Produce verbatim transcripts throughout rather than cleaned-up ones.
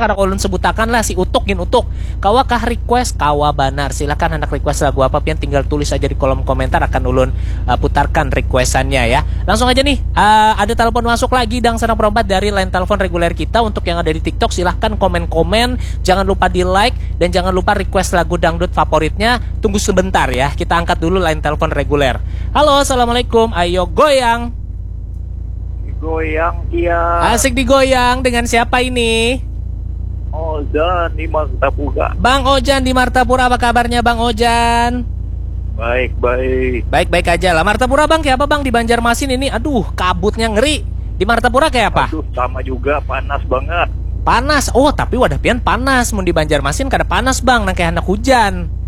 kada ulun sebutakan lah, si Utuk gin Utuk. Kawakah request? Kawa banar. Silahkan handak request lagu apa pian, tinggal tulis aja di kolom komentar, akan ulun uh, putarkan requestannya ya. Langsung aja nih, uh, ada telepon masuk lagi, Dang Sanang Perompat dari line telepon reguler kita. Untuk yang ada di TikTok, silahkan komen-komen, jangan lupa di like, dan jangan lupa request lagu dangdut favoritnya. Tunggu sebentar ya, kita angkat dulu line telepon reguler. Halo, assalamualaikum. Ayo goyang. Goyang dia. Asik digoyang. Dengan siapa ini? Ojan di Martapura. Bang Ojan di Martapura, apa kabarnya Bang Ojan? Baik, baik. Baik-baik aja lah. Martapura Bang, kayak apa Bang di Banjarmasin ini? Aduh, kabutnya ngeri. Di Martapura kayak apa? Aduh, sama juga, panas banget. Panas. Oh, tapi wadah pian panas. Mun di Banjarmasin kada panas Bang, nang kayak anak hujan.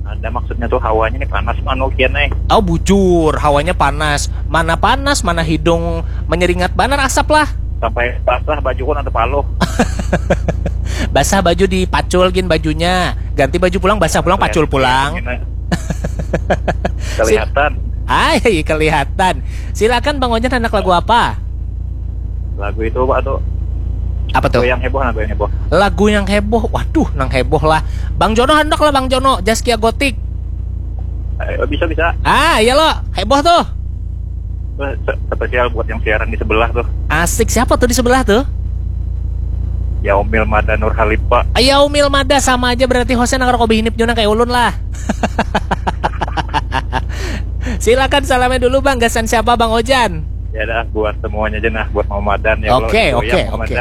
Ada maksudnya tuh hawanya nih panas anu kian eh. Oh, bujur, hawanya panas. Mana panas, mana hidung menyeringat banar asap lah. Sampai basah baju pun ada paluh. Basah baju dipacul gin bajunya. Ganti baju pulang, basah pulang, pacul pulang. Kelihatan. Ay, kelihatan. Silakan Bang Ojan, anak lagu apa? Lagu itu apa tuh? Apa tuh? Lagu yang heboh, lagu yang heboh. Lagu yang heboh. Waduh, nang heboh lah. Bang Jono, hendak lah Bang Jono, Zaskia Gotik. Eh, bisa, bisa. Ah, iya lo, heboh tuh. Eh, se- Spesial buat yang siaran di sebelah tuh. Asik, siapa tuh di sebelah tuh? Yaumil Mada Nur Halipa. Yaumil Mada, sama aja berarti hostnya nang rokok bihinip juna kayak ulun lah. Silakan salamnya dulu Bang, gasan siapa Bang Ojan? Ya dah, buat semuanya aja nah, buat Mama Madan ya. Oke, oke, oke.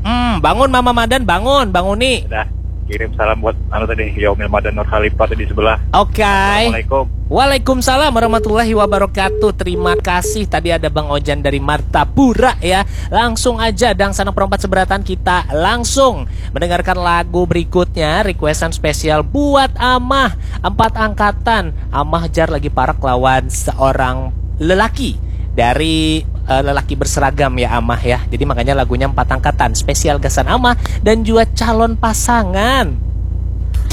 Mm, bangun Mama Madan, bangun, banguni. Dah, kirim salam buat anu tadi, Yaumil Madan Nur Khalifah tadi sebelah. Oke. Assalamualaikum. Waalaikumsalam warahmatullahi wabarakatuh. Terima kasih, tadi ada Bang Ojan dari Martapura ya. Langsung aja Dang Sanang Perompat seberatan, kita langsung mendengarkan lagu berikutnya, requestan spesial buat Amah empat angkatan. Amah jar lagi parak lawan seorang lelaki dari uh, lelaki berseragam ya Amah ya. Jadi makanya lagunya empat angkatan, spesial gasan Amah dan juga calon pasangan.